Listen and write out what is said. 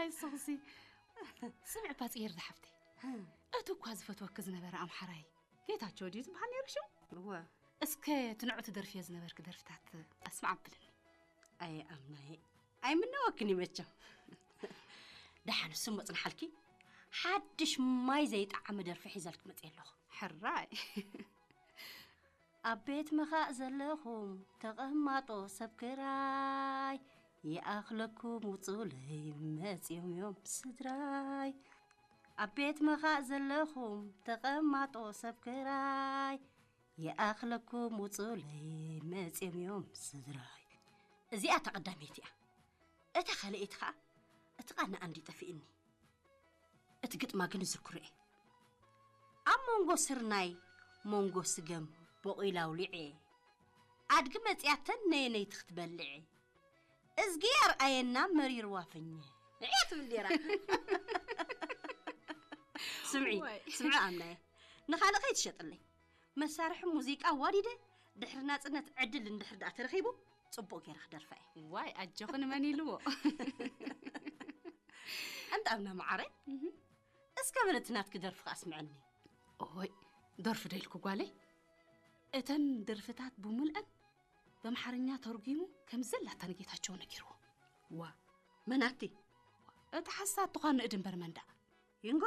ንስኺሲ ስምዒ እባ ጽየር ዝሓፍተይ፣ እቲ እኳ ዝፈትወኪ ዝነበረ ኣምሓራይ ጌታቸው ድዩ ዝበሃል ነይሩ ሽሙ? እወ። እስከ እቲ ንዑ ትደርፍዮ ዝነበርኪ ደርፍታት ኣስማዕ ኣብልኒ። ኣይ ኣምናየ፣ ኣይምነወክን እዩ መቸም። ደሓን እሱ መጽንሓልኪ፣ ሓድሽ ማይ ዘይጠዓመ ደርፊ ሒዘልክ መጽየ ኣለኹ። ሕራይ። ኣብ ቤት ምኻእ ዘለኹም ተቐማጦ ሰብ ክራይ፣ ይኣኽለኩም ውጹለይ መጺኦም እዮም ስድራይ። ኣብ ቤት ምኻእ ዘለኹም ተቐማጦ ሰብ ክራይ፣ ይኣኽለኩም ውጹለይ መጺኦም እዮም ስድራይ። እዚኣ እታ ቀዳመይቲ እያ። እታ ካልኣይቲ ኸኣ እቲ ቃና ኣንዲ ጠፊእኒ። እቲ ግጥማ ግን እዝክሮ እየ። ኣብ መንጎ ስርናይ መንጎ ስገም ቦቒላ ኣውሊዐ፣ ኣድጊ መጺኣተን ነየነይቲ ክትበልዐ፣ እዝጊ ኣርኣየና መሪርዋ ፍኘ እያ ትብል ነይራ። ስምዒ፣ ዋይ። ስምዒ ኣምናየ፣ ንኻልእ ከይትሸጥለይ። መሳርሒ ሙዚቃ ዋዲደ ድሕሪ ናጽነት ዕድል እንድሕር ደኣ ተረኺቡ፣ ጽቡቕ ገይረ ክደርፋ እየ። ዋይ፣ ኣጆኺ ንመን ኢልዎ? ኣንታ ኣምና መዓረ፣ እስከ በለቲ ናትኪ ደርፊ ከኣ ኣስምዐኒ። ኦይ፣ ደርፊ ዶ ኢልኩ ጓለይ? እተን ደርፍታት ብምልአን በምሓርኛ ተርጒሙ ከም ዘላታ ንጌታቸው ነጊርዎ። ዋ፣ መናቲ? እቲ ሓሳብ ተዃን ንእድ እምበር መንዳ።